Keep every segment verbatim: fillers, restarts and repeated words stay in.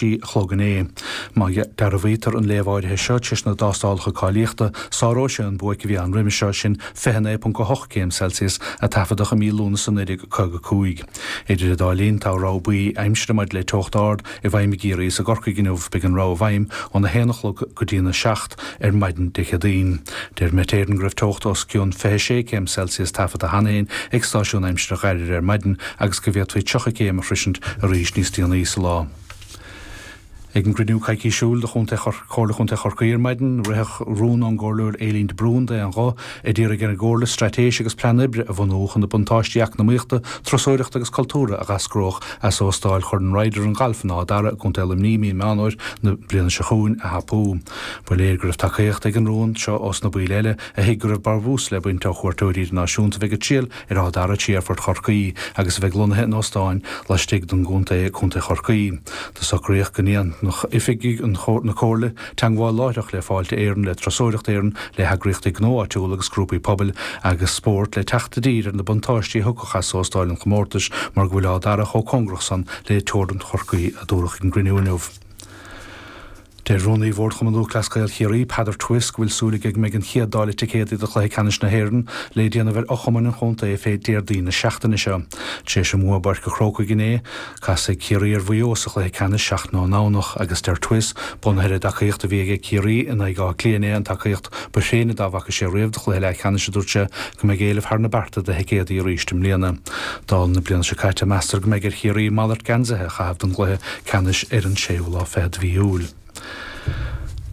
a chlog inné. Má dearbhaítear an léamh áirithe seo tar éis na dtástálacha cáilíochta, sáróidh sé an buaic a bhí ann roimhe seo, sin fiche naoi ponc a hocht céim Celsius a taifeadadh i mí Lúnasa naoi déag caoga a cúig. Idir an dá linn, tá rabhadh buí aimsire maidir le teocht ard i bhfeidhm i gCiarraí is i gCorcaigh inniu. Beidh an rabhadh i bhfeidhm óna haon a chlog go dtína seacht ar maidin Dé Céadaoin. Deir Met Éireann go raibh teocht os cionn fiche sé céim Celsius taifeadta cheana féin ag stáisiún aimsire Ghairire ar maidin agus go bhféadfaí tríocha céim a shroisint arís níos déanaí sa lá. Ag an gcruinniú coicísiúil de Chontae Chomhairle Chontae Chorcaí ar maidin, ritheadh rún ón gComhairleoir Aileen de Brún d'aon ghuth a d'iarraidh ar an gComhairle straitéis agus plean oibre a bhunú chun na buntáistí eacnamaíochta, turasóireachta agus cultúrtha a dh'eascródh as óstáil Chorn Ryder an Ghailf in Áth Dara i gContae Luimnigh i mí Meán Fhómhair na bliana seo chugainn a thapú. Ba léir go raibh tacaíocht ag an rún seo ós na baill eile a thuig go raibh brabús le baint ó chuairteoirí idirnáisiúnta a bheidh ag triall ar Áth Dara trí Aerfort Chorcaí agus a bheidh lonnaithe in óstáin laistigh den gcontae, Contae Chorcaí. Do socraíodh go ndéanfadh oifigigh na Comhairle teagmháil láithreach le Fáilte Éireann, le Turasóireacht Éireann, le heagraíochtaí gnó áitiúla agus grúpaí pobail agus spóirt le teacht i dtír ar na buntáistí a thiocfadh as óstáil an chomórtais mar go bhfuil Áth Dara chomh cóngarach san le teorainn Chorcaí, a dúradh ag an gcruinniú inniu. Deir Rúnaí Bhord Chumann Lúthchleas Gael Chiarraí, Peadar Twiss, go bhfuil súil aige go mbeidh an chéad dáileadh ticéadaí do chluiche ceannais na hÉireann le déanamh ar fhochumainn an chontae fé Déardaoin na seachtaine seo. Tar éis a mbua i bPáirc an Chrócaigh inné, casfaidh Ciarraí ar Mhaigh Eo sa chluiche ceannais seachtain ón nDomhnach agus deir Twiss, bunaithe ar an dtacaíocht a bhí aige Ciarraí in aghaidh Átha Cliath inné, an tacaíocht ba thréine dá bhfaca sé riamh do chluiche leathcheannais, a dúirt sé, go mbeidh éileamh thar na bearta do thicéadaí arís i mbliana. Dála na bliana seo caite, meastar go mbeidh ar Chiarraí malairt geansaithe a chaitheamh don gcluiche ceannais ar an séú lá fichead de mhí Iúil.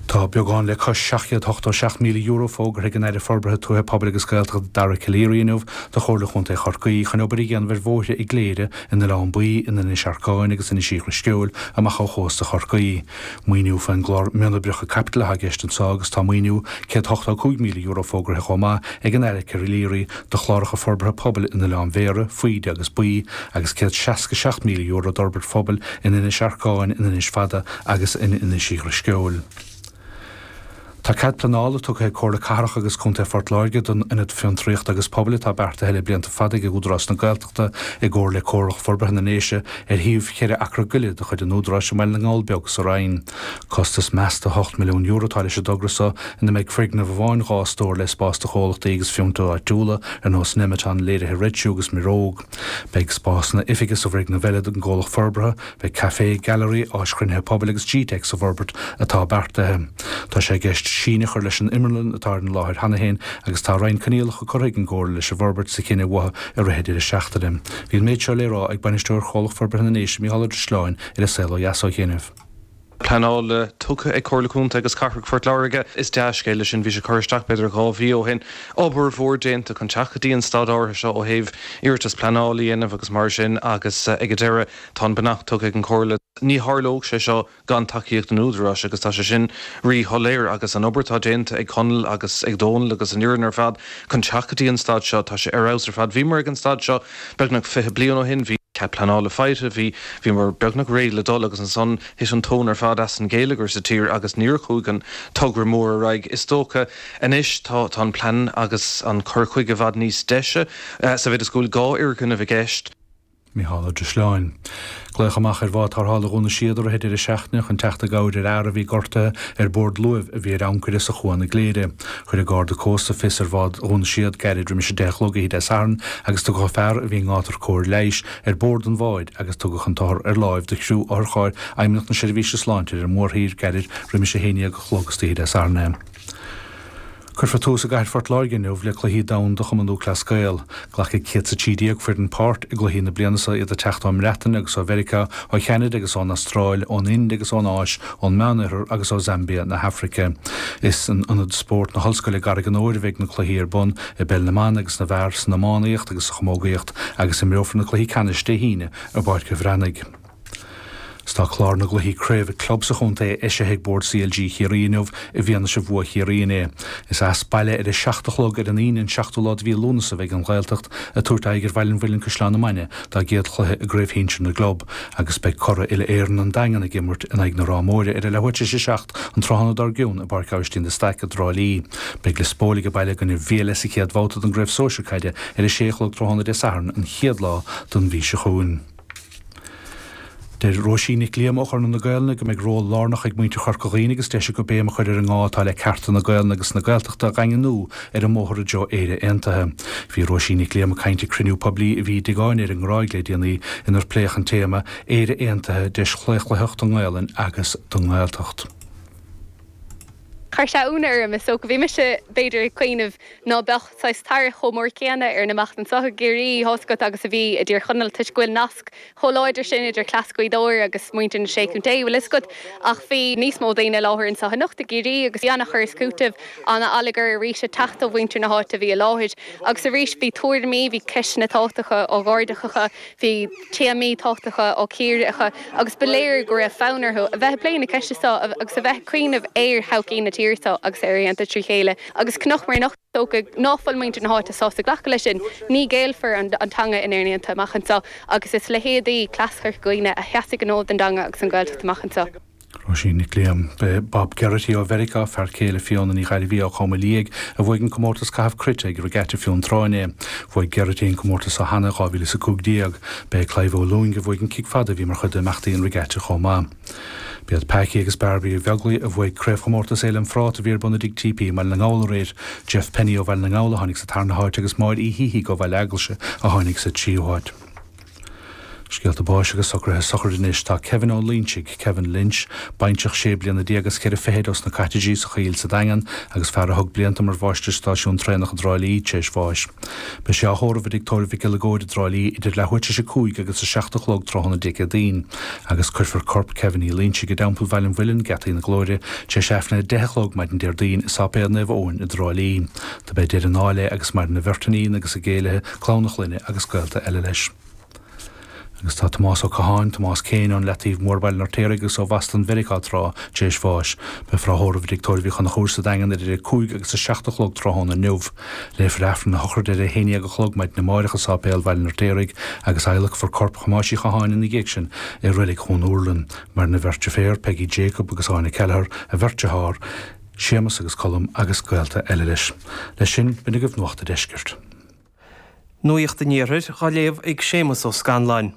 Tá beagán le cois seacht gcéad ochtó seacht míle euro fógartha ag an Aire Forbartha Tuaithe, Pobail agus Gaeltachta Dara Calleary inniu do Chomhairle Chontae Chorcaí chun obair a dhéanamh ar bhóithre i gCléire, in Oileán Buí, in Inis Arcáin agus Inis Uí Dhrisceoil amach ó chósta Chorcaí. Maoiniú faoin gclár Mionoibreacha Caipitil atá i gceist anseo agus tá maoiniú céad ochtó cúig míle euro fógartha chomh maith ag an Aire Calleary do chláracha forbartha pobail in Oileán Bhéarra, Faoide agus Baoi agus céad seasca seacht míle euro d'fhorbairt phobail in Inis Arcáin, in Inis Fada agus in Inis Uí Dhrisceoil. Tá cead pleanála tugtha ag Comhairle Cathrach agus Contae Phort Láirge don Ionad Fiontraíochta agus Pobail atá beartaithe le blianta fada ag Údarás na Gaeltachta i gcomhar le Comhairle Forbartha na nDéise ar shuíomh cheithre acra go leith de chuid an Údaráis i mBaile na nGall Beag sa Rinn. Costas measta ocht milliún euro atá leis an dtogra seo ina mbeidh foirgneamh amháin dhá stór le spás do chomhlachtaí agus fiontair áitiúla ar nós Nemeton, Léirithe Red Shoe agus Miróg. Beidh spásanna oifige sa bhfoirgneamh eile don gcomhlacht forbartha, beidh caifé, gailearaí, áis chruinnithe pobail agus G-Tech sa bhforbairt atá beartaithe. Tá sé i gceist síneadh a chur leis an imearlann atá ar an láthair cheana féin agus tá roinnt coinníollacha curtha ag an gComhairle leis an bhforbairt sa chinneadh uathu i rith an deireadh seachtaine. Bhí an méid seo le rá ag Bainisteoir Chomhlacht Forbartha na nDéise, Micheál Ó Drisleáin, ar An Saol Ó Dheas ó chianaibh. Pleanála tugtha ag Comhairle Contae agus Cathrach Phort Láirge. Is dea-scéal é sin. Bhí sé curtha isteach b'fhéidir dhá mhí ó shin. Obair mhór déanta chun teacht go dtí an staid áirithe seo ó thaobh iarratas pleanála a dhéanamh agus mar sin agus ag an deireadh tá an beannacht tugtha ag an Chomhairle. Ní tharlódh sé seo gan tacaíocht an Údaráis agus tá sé sin rí-shoiléir agus an obair atá déanta ag Conall agus ag Dónal agus an fhoireann ar fad chun teacht go dtí an staid seo, tá sé ar fheabhas ar fad. Bhíomar ag an staid seo beagnach fiche bliain ó shin, bhí cead pleanála faighte, bhí, bhíomar beagnach réidh le dul agus ansan thit an tóin ar fad as an gheilleagar sa tír agus níor chuaigh an togra mór ar aghaidh. Is dócha anois tá, tá an plean agus an cur chuige i bhfad níos deise sa mhéid is go bhfuil dhá fhoirgneamh i gceist. Micheál Ó Drisleáin. Glaodh amach ar bhád tarrthála Dhún na Síoda i rith an deireadh seachtaine chun teacht i gcabhair ar fhear a bhí gortaithe ar bord luaimh a bhí ar ancaire sa Chuan i gCléire. Chuir an Garda Cósta fios ar bhád Dhún na Síoda gairid roimis a deich a chlog oíche Dé Sathairn agus tugadh fear a bhí i ngátar cóir leighis ar bord an bháid agus tugadh an t-othar ar láimh do chriú otharchairr Fheidhmeannacht na Seirbhíse Sláinte ar an mórthír gairid roimis a haon déag a chlog istoíche Dé Sathairn é. Cuirfear tús i gcathair Phort Láirge inniu le Cluichí Domhanda Chumann Lúthchleas Gael. Glacfaidh céad is a trí déag foireann páirt i gcluichí na bliana seo, iad ag teacht ón mBreatain agus ó Mheiriceá, ó Cheanada agus ón Astráil, ón Ind agus ón Áis, ón Meánoirthear agus ó Zambia na hAfraice. Is in Ionad Spóirt na hOllscoile i gCarraig an Óir a bheidh na cluichí ar bun, i bpeil na mban agus na bhfear, san iománaíocht agus sa chamógaíocht, agus imreofar na cluichí ceannais Dé hAoine i bPáirc an Bhreathnaigh. 'S tá clár na gcluichí craoibhe club sa chontae eisithe ag Bord C L G Chiarraí inniu i bhfianaise bhua Chiarraí inné. Is as baile ar a seacht a chlog ar an Aoine an seachtú lá de mhí Lúnasa a bheidh an Ghaeltacht ag tabhairt aghaidh ar Bhaile an Mhuilinn-Caisleán na Mainge dá gcéad chluiche i gCraobh Shinsir na gClub agus beidh curaidh uile-Éireann an Daingean ag imirt in aghaidh na Ráth Móire ar a leathuair tar éis a seacht an tráthnóna dár gcionn i bPáirc Aibhistín de Staic i dTrá Lí. Beidh Lios Póil age baile i gcoinne Bhéal sa chéad bhabhta den gCraobh Sóisir Caide ar a sé a chlog tráthnóna Dé Sathairn an chéad lá den mhí seo chugainn. Deir Róisín Nic Liam ó Chonradh na Gaelainne go mbeidh ról lárnach ag muintir Chorca Dhuibhne agus deis acu béim a chur ar an ngá atá le cearta na Gaelainne agus na Gaeltachta a dhaingniú ar an mbóthar i dtreo Éire Aontaithe. Bhí Róisín Nic Liam ag caint ag cruinniú poiblí a bhí i dTigh Áine ar an nGráig le déanaí inar pléadh an téama Éire Aontaithe, deis chlaochlaitheach don nGaelainn agus don nGaeltacht. Chuir sé ionadh orm is dócha. Bhí mise b'fhéidir ag cuimhneamh ná beadh saghas tarrac chomh mór céanna ar an imeacht anseo i gCiarraí, tá's agat agus a bhí i dTír Chonaill toisc go bhfuil nasc chomh láidir sin idir cleas Ghaoth Dobhair agus muintir na Sé Chontae, bhfuil fhios agat. Ach bhí níos mó daoine i láthair anseo anocht i gCiarraí agus bhí an-chur is cúiteamh, an-allagar arís ag teacht ó mhuintir na háite a bhí i láthair. Agus arís bhí tuairimí, bhí ceisteanna tábhachtacha á n-ardú acu, bhí téamaí tábhachtacha á gcíoradh acu agus ba léir go raibh fonn orthu a bheith ag plé na ceiste seo agus a bheith ag cuimhneamh ar thodhchaí na tíre seo agus ar aontas trí chéile. Agus cnoc mar anocht dócha ná fuil muintir na háite sásta glacadh leis sin, ní ghéillfear an teanga in Éirinn Aontaithe amach anseo agus is leithéidí Cleas Chorca Dhuibhne a sheasfaidh an fód don dteanga agus an Ghaeltacht amach anseo. Róisín Nic Liam. B'é Bob Geraghty ó Mheiriceá, fear céile Fiona Ní Ghairbhí ó Chom Liaigh, a bhuaigh an comórtas caitheamh cruite ag Regatta Fionn Trá inné. Bhuaigh Geraghty an comórtas seo cheana i dhá mhíle is a cúig déag. B'é Clive Ó Lúing a bhuaigh an cic fada a bhí mar chuid d'imeachtaí an Regatta chomh maith. B'iad Packie agus Barbie Uí Bheaglaoich a bhuaigh craobhchomórtas Fhéile an Phráta a bhí ar bun i dTigh T P i mBaile na nGall aréir. Jeff Penny ó Bhaile na nGall a tháinig sa tarna háit agus Máire Uí Shíthigh ó Bhaile Eaglaise a tháinig sa tríú háit. Scéalta báis agus socruithe sochraide anois. Tá Kevin Ó Loinsigh, Kevin Lynch, baintreach sé bliana déag agus ceithre fichid ós na Cottages sa Choill sa Daingean agus fear a thug blianta mar mháistir stáisiún traenach i dTrá Lí tar éis bháis. Beidh sé á thórramh i dTigh Tórraimh Mhic Giolla Góir i dTrá Lí idir leathuair tar éis a cúig agus a seacht a chlog tráthnóna Dé Céadaoin, agus cuirfear corp Kevin Uí Loinsigh i dTeampall Bhaile an Mhuilinn, Geataí na Glóire, tar éis Aifreann a deich a chlog maidin Déardaoin i Sáipéal Naomh Eoin i dTrá Lí. Do b'é deireadh an áil é agus maireann a bheirt iníon agus a gcéilithe, clann a chlainne agus gaolta eile leis. Agus tá Tomás Ó Catháin, Tomás Céin ón Leataobh Mór Baile an Fheirtéaraigh agus ó Bhoston Mheiriceá tráth tar éis bháis. Beifear á thórramh i dTigh Tórraimh Uí Chonchúir sa Daingean idir a cúig agus a seacht a chlog tráthnóna inniu. Léifear Aifreann na sochraide ar a haon déag a chlog maidin amárach i Sáipéal Bhaile an Fheirtéaraigh agus adhlacfar corp Thomáis Uí Chatháin ina dhiaidh sin i reilig Dhún Úrlann. Maireann a bheirt deirféar, Peggy Jacob agus Áine Kelleher, a bheirt dearthár, Séamus agus Colm agus gaolta eile leis. Leis sin, b'in agaibh Nuacht an Deiscirt. Nuacht an Iarthair á léamh ag Séamus Ó Scanláin.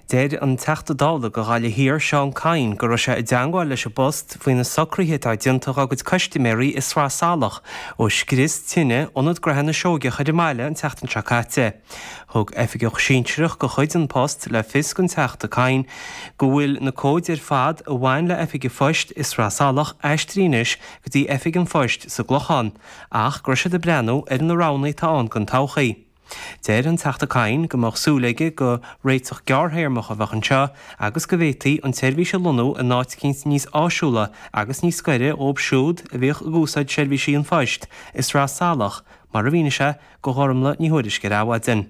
Deir an Teachta Dála do Ghaillimh Thiar Seán Kyne go raibh sé i dteangmháil leis an bPost faoi na socruithe atá déanta dá gcuid custaiméirí i Sraith Salach ó scrios tine Ionad Gnaithe na Seoigeach ar an mbaile an tseachtain seo caite. Thug oifigeach sinsearach de chuid An Post le fios don Teachta Kyne go bhfuil na comhaid ar fad a bhain le oifig an phoist i Sraith Salach aistrithe anois go dtí oifig an phoist sa gClochán ach go raibh siad ag breathnú ar na roghanna atá ann don todhchaí. Deir an Teachta Kyne go mbeadh súil aige gur réiteach gearrthéarmach a bheadh anseo agus go bhféadfaí an tseirbhís a lonnú in áit eicínt níos áisiúla agus níos gaire dóibh siúd a bhíodh ag úsáid seirbhísí an phoist i Sraith Salach, mar a mhínigh sé do Ghormlaith Ní Thuairisg ar Adhmhaidin.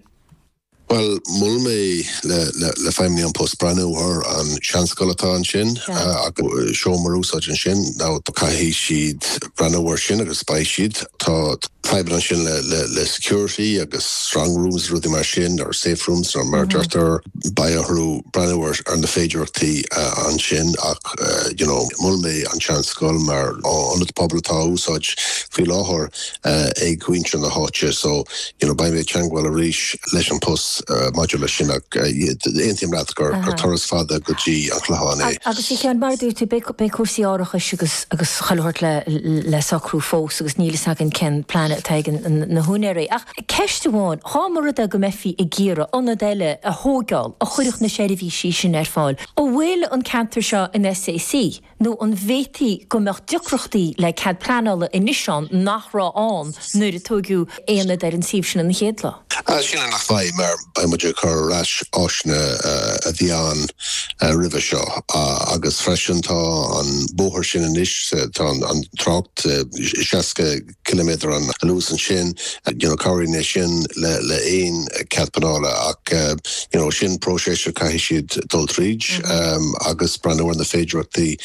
Bhuel, mhol mé le le le feidhmeannaigh An Post breathnú ar an seanscoil atá ansin agus seomra a úsáid ansin. Now caithfidh siad breathnú air sin agus beidh siad. Tá fadhbanna ansin le le le security agus strong rooms rudaí mar sin or safe rooms nó mar deirtear beidh orthu breathnú ar ar na féidearthachtaí ansin ach you know mhol mé an seanscoil mar ionad pobail atá á úsáid faoi láthair ag muintir na háite so you know beidh mé ag teagmháil arís leis An Post maidir leis sin ach aontaím leat gur gur turas fada go dtí an Clochán é. Agus a Sheáin, mar a dúirt tú, beidh beidh cúrsaí árachais agus agus chuile shórt le le socrú fós agus níl fhios againn cén plean atá ag na húinéirí. Ach ceist amháin, dhá mba rud é go mbeifí ag iarraidh ionad eile a thógáil a chuirfeadh na seirbhísí sin ar fáil, an bhfuil an ceantar seo in S A C nó an bhféadfaí go mbeadh deacrachtaí le cead pleanála anois ann nach raibh ann nuair a tógadh aonad ar an suíomh sin an chéad lá? Sílim nach mbeidh mar beidh muid ag cur ar ais áiseanna a bhí ann roimhe seo agus freisin tá an bóthar sin anois, tá an trácht seasca ciliméadar an luas ansin, you know cabhraíonn é sin le le aon cead pleanála ach you know sin próiseas a caithfidh siad dul tríd agus breathnú ar na féidearthachtaí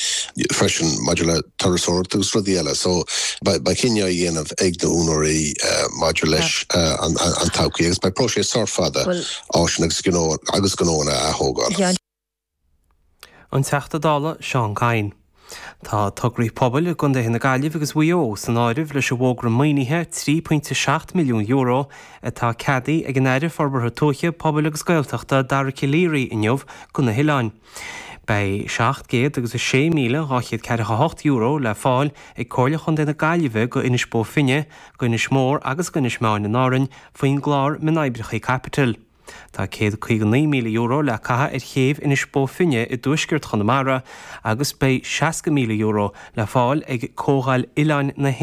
freisin maidir le turasóireacht agus rudaí eile. So beidh cinneadh á dhéanamh ag na húinéirí maidir leis an an todhchaí agus beidh próiseas sách fada áiseanna agus gnó agus gnóanna a atógáil. An Teachta Dála Seán Kyne. Tá tograí pobail i gcontaetha na Gaillimhe agus Mhaigh Eo san áireamh leis an bhfógra maoinithe trí pointe seacht milliún euro atá ceadaithe ag an Aire Forbartha Tuaithe, Pobail agus Gaeltachta Dara Calleary inniu do na hoileáin. Beidh seacht gcéad agus a sé míle dhá chéad ceathracha a hocht euro le fáil ag Comhairle Chontae na Gaillimhe go Inis Bó Finne, go Inis Mór agus go Inis Meáin in Árainn faoin gclár Mionoibreacha Caipitil. Tá céad caoga naoi míle euro le caitheamh ar chéibh Inis Bó Finne i dtuaisceart Chonamara agus beidh seasca míle euro le fáil ag Comhdháil Oileáin na hÉireann.